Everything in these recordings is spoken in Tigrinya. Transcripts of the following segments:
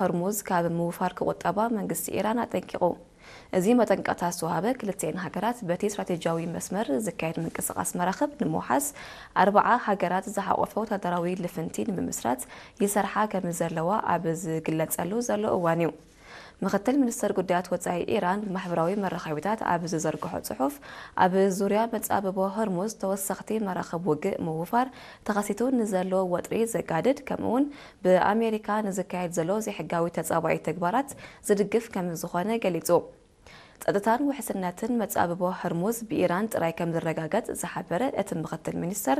ሆርሙዝ ካብ ምውፋር ክቑጠባ መንግስቲ ኢራን ኣጠንቂቑ። እዚ መጠንቀቕታ ዝተዋህበ፣ ክልቲኤን ሃገራት በቲ ስትራቴጂያዊ መስመር ዝካየድ ምንቅስቓስ መራኽብ ንምውሓስ ኣርብዓ ሃገራት ዝሓቖፈ ወታደራዊ ልፍንቲ ንምምስራት ይሰርሓ ከም ዘለዋ ኣብ ዝግለጸሉ ዘሎ እዋን እዩ። ምኽትል ሚኒስተር ጉዳያት ወጻኢ ኢራን ብማሕበራዊ መራኸቢታት ኣብ ዝዘርግሖ ጽሑፍ፣ ኣብ ዙርያ መጻብቦ ሆርሙዝ ተወሰኽቲ መራኽብ ውግእ ምውፋር ተኸሲቱ ንዘሎ ወጥሪ ዘጋድድ፣ ከምኡውን ብኣሜሪካ ንዝካየድ ዘሎ ዘይሕጋዊ ተጻባኢ ተግባራት ዝድግፍ ከም ዝኾነ ገሊጹ። ጸጥታን ውሕስነትን መጻብቦ ሆርሙዝ ብኢራን ጥራይ ከም ዝረጋገጽ ዝሓበረ እቲ ምኽትል ሚኒስተር፣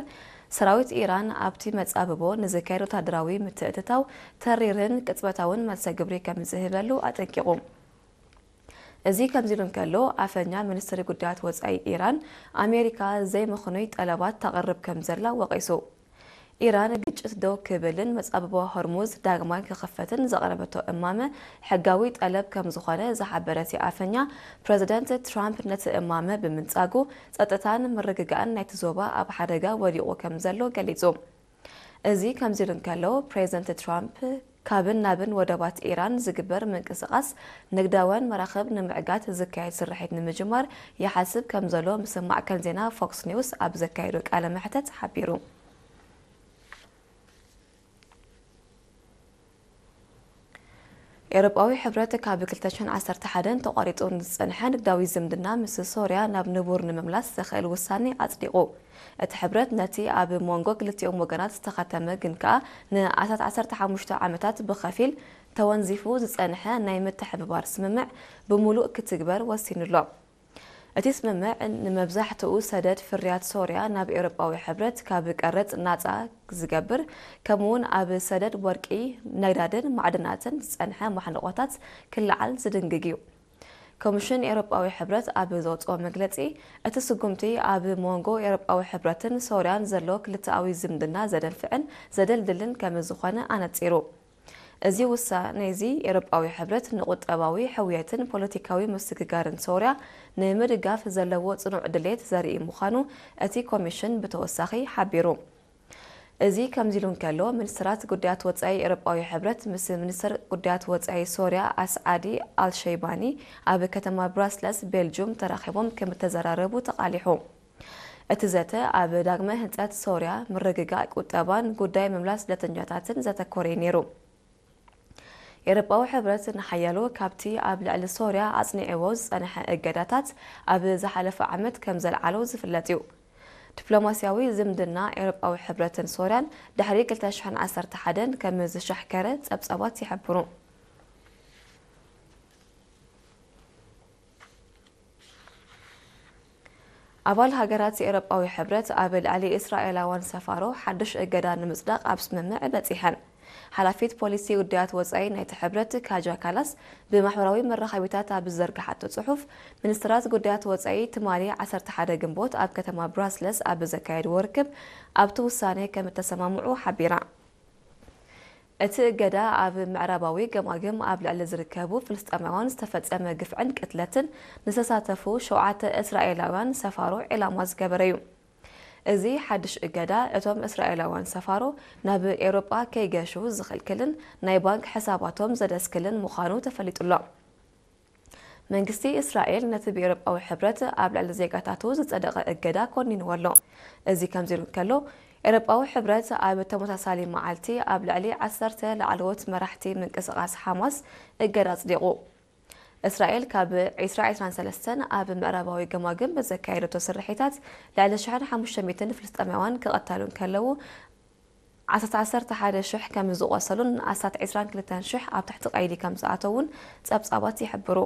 ሰራዊት ኢራን ኣብቲ መጻብቦ ንዝካየድ ወታደራዊ ምትእትታው ተሪርን ቅጽበታውን መልሰ ግብሪ ከም ዝህበሉ ኣጠንቂቑ። እዚ ከምዚ ኢሉ እንከሎ፣ ኣፈኛ ሚኒስትሪ ጉዳያት ወጻኢ ኢራን፣ ኣሜሪካ ዘይምኽኑይ ጠለባት ተቕርብ ከም ዘላ ወቒሱ። ኢራን ግጭት ደው ክብልን መጻብቦ ሆርሙዝ ዳግማይ ክኽፈትን ዘቕረበቶ እማመ ሕጋዊ ጠለብ ከም ዝኾነ ዝሓበረ እቲ ኣፈኛ፣ ፕረዚደንት ትራምፕ ነቲ እማመ ብምንጻጉ ጸጥታን ምርግጋእን ናይቲ ዞባ ኣብ ሓደጋ ወዲቑ ከም ዘሎ ገሊጹ። እዚ ከምዚ ኢሉ እንከሎ፣ ፕሬዚደንት ትራምፕ ካብን ናብን ወደባት ኢራን ዝግበር ምንቅስቓስ ንግዳውያን መራኽብ ንምዕጋት ዝካየድ ስርሒት ንምጅማር ይሓስብ ከም ዘሎ ምስም ማዕከን ዜና ፎክስ ኒውስ ኣብ ዘካየዶ ቃለ መሕተት ሓቢሩ። ኤውሮጳዊ ሕብረት ካብ ክልተ ሽሕን ዓሰርተ ሓደን ተቋሪጹ ንዝጸንሐ ንግዳዊ ዝምድና ምስ ሶርያ ናብ ንቡር ንምምላስ ዘኽእል ውሳኔ ኣጽዲቑ። እቲ ሕብረት ነቲ ኣብ መንጎ ክልቲኦም ወገናት ዝተኸተመ ግን ከኣ ንኣስታት ዓሰርተ ሓሙሽተ ዓመታት ብኸፊል ተወንዚፉ ዝጸንሐ ናይ ምትሕብባር ስምምዕ ብምሉእ ክትግበር ወሲኑ ኣሎ። እቲ ስምምዕ ንመብዛሕትኡ ሰደድ ፍርያት ሶርያ ናብ ኤውሮጳዊ ሕብረት ካብ ቀረጽ ናጻ ዝገብር፣ ከምኡውን ኣብ ሰደድ ወርቂ፣ ነዳድን ማዕድናትን ዝጸንሐ ማሕንቖታት ክለዓል ዝድንግግ እዩ። ኮሚሽን ኤውሮጳዊ ሕብረት ኣብ ዘውጽኦ መግለጺ፣ እቲ ስጉምቲ ኣብ መንጎ ኤውሮጳዊ ሕብረትን ሶርያን ዘሎ ክልተኣዊ ዝምድና ዘደንፍዕን ዘደልድልን ከም ዝኾነ ኣነጺሩ። እዚ ውሳኔ እዚ ኤውሮጳዊ ሕብረት ንቁጠባዊ ሕውየትን ፖለቲካዊ ምስግጋርን ሶርያ ንምድጋፍ ዘለዎ ጽኑዕ ድሌት ዘርኢ ምዃኑ እቲ ኮሚሽን ብተወሳኺ ሓቢሩ። እዚ ከምዚ ኢሉ እንከሎ፣ ሚኒስትራት ጉዳያት ወጻኢ ኤውሮጳዊ ሕብረት ምስ ሚኒስትር ጉዳያት ወጻኢ ሶርያ ኣስዓዲ ኣልሸይባኒ ኣብ ከተማ ብራስለስ ቤልጁም ተራኺቦም ከም እተዘራረቡ ተቓሊሑ። እቲ ዘተ ኣብ ዳግመ ህንጸት ሶርያ፣ ምርግጋእ ቁጠባን ጉዳይ ምምላስ ስደተኛታትን ዘተኮረ እዩ ነይሩ። ኤውሮጳዊ ሕብረት ንሓያሎ ካብቲ ኣብ ልዕሊ ሶርያ ኣጽኒዕዎ ዝጸንሐ እገዳታት ኣብ ዝሓለፈ ዓመት ከም ዘልዓሎ ዝፍለጥ እዩ። ዲፕሎማስያዊ ዝምድና ኤውሮጳዊ ሕብረትን ሶርያን ድሕሪ ክልተ ሽሕን ዓሰርተ ሓደን ከም ዝሻሕከረ ጸብጻባት ይሕብሩ። ኣባል ሃገራት ኤውሮጳዊ ሕብረት ኣብ ልዕሊ እስራኤላውያን ሰፋሮ ሓድሽ እገዳ ንምጽዳቕ ኣብ ስምምዕ በጺሐን። ሓላፊት ፖሊሲ ጉዳያት ወጻኢ ናይቲ ሕብረት ካጃ ካላስ ብማሕበራዊ መራኸቢታት ኣብ ዝዘርግሓቶ ጽሑፍ፣ ሚኒስትራት ጉዳያት ወጻኢ ትማሊ ዓሰርተ ሓደ ግንቦት ኣብ ከተማ ብራስለስ ኣብ ዘካየድዎ ርክብ ኣብቲ ውሳኔ ከም እተሰማምዑ ሓቢራ። እቲ እገዳ ኣብ ምዕራባዊ ገማግም ኣብ ልዕሊ ዝርከቡ ፍልስጤማውያን ዝተፈጸመ ግፍዕን ቅትለትን ንዝተሳተፉ ሸውዓተ እስራኤላውያን ሰፋሮ ዒላማ ዝገበረ እዩ። እዚ ሓድሽ እገዳ፣ እቶም እስራኤላውያን ሰፋሮ ናብ ኤውሮጳ ከይገሹ ዝኽልክልን ናይ ባንክ ሕሳባቶም ዘደስክልን ምዃኑ ተፈሊጡ ኣሎ። መንግስቲ እስራኤል ነቲ ብኤውሮጳዊ ሕብረት ኣብ ልዕሊ ዜጋታቱ ዝጸደቐ እገዳ ኮኒንዎ ኣሎ። እዚ ከምዚ ኢሉ እንከሎ፣ ኤውሮጳዊ ሕብረት ኣብ ተመሳሳሊ መዓልቲ ኣብ ልዕሊ ዓሰርተ ላዕለዎት መራሕቲ ምንቅስቓስ ሓማስ እገዳ ኣጽዲቑ። እስራኤል ካብ ዕስራ ዕስራን ሰለስተን ኣብ ምዕራባዊ ገማግም ብዘካየደቶ ስርሒታት ልዕሊ ሽሕን ሓሙሽተ ሚእትን ፍልስጤማውያን ክቐተሉ እንከለዉ፣ ኣስታት ዓሰርተ ሓደ ሽሕ ከም ዝቖሰሉን ኣስታት ዕስራን ክልተን ሽሕ ኣብ ትሕቲ ቀይዲ ከም ዝኣተዉን ጸብጻባት ይሕብሩ።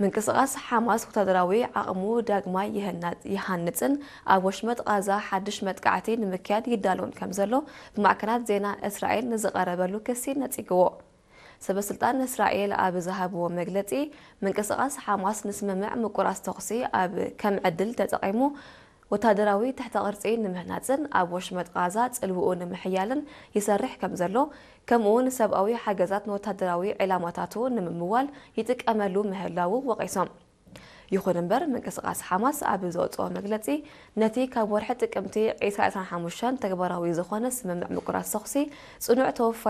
ምንቅስቓስ ሓማስ ወታደራዊ ዓቕሙ ዳግማይ ይህና-፣ ይሃንጽን ኣብ ወሽመጥ ቓዛ ሓድሽ መጥቃዕቲ ንምክያድ ይዳለውን ከም ዘሎ ብማዕከናት ዜና እስራኤል ንዝቐረበሉ ክሲ ነጺግዎ። ሰበስልጣን እስራኤል ኣብ ዝሃብዎ መግለጺ፣ ምንቅስቓስ ሓማስ ንስምምዕ ምቁራጽ ተኹሲ ኣብ ከም ዕድል ተጠቒሙ፣ ወታደራዊ ትሕተ ቅርጺ ንምህናጽን ኣብ ወሽመጥ ቓዛ ጽልውኡ ንምሕያልን ይሰርሕ ከም ዘሎ፣ ከምኡውን ሰብኣዊ ሓገዛት ንወታደራዊ ዒላማታቱ ንምምዋል ይጥቀመሉ ምህላዉ ወቒሶም። ይኹን እምበር፣ ምንቅስቓስ ሓማስ ኣብ ዘውጽኦ መግለጺ፣ ነቲ ካብ ወርሒ ጥቅምቲ ዕስራ ዕስራን ሓሙሽተን ተግባራዊ ዝኾነ ስምምዕ ምቁራጽ ተኹሲ ጽኑዕ ተወፋይ